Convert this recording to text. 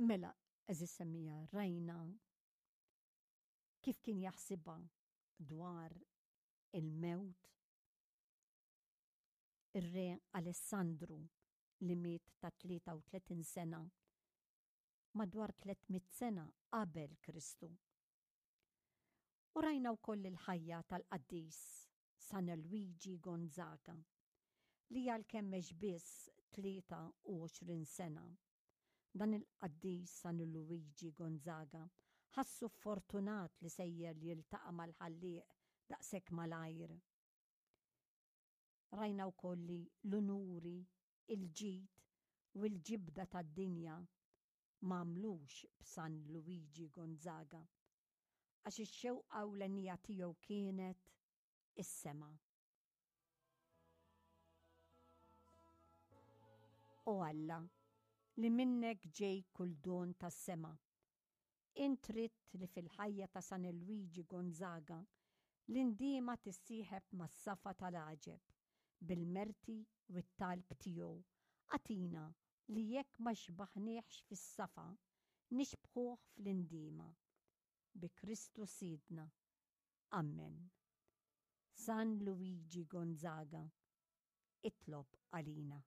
Mela, għeżież semmiegħa, rajna kif kien jaħsibha dwar il-mewt ir-Re Alessandru li miet ta' 33 sena madwar 300 sena qabel Kristu. U rajna wkoll il-ħajja tal-qaddis San Luigi Gonzaga li għalkemm għex biss 23 sena, dan il-qaddis San Luigi Gonzaga ħassu ffortunat li sejjer li jiltaqa' mal-Ħallieq daqshekk malajr. Rajna wkoll li l-unuri, il-ġid u l-ġibda tad-dinja m'għamlux b'San Luigi Gonzaga, għax ix-xewqa ewlenija tiegħu kienet is-sema. O Alla, li minnek ġej kull don tas-sema, int ridt li fil-ħajja ta' San Luigi Gonzaga l-indiema tissieħeb mas-safa tal-għaġeb, bil-merti u t-talb tiegħu, agħtina li jekk ma xbaħniehx fis-safa, nixbħuh fl-indiema. Bi Kristu Sidna. Ammen. San Luigi Gonzaga, itlob għalina.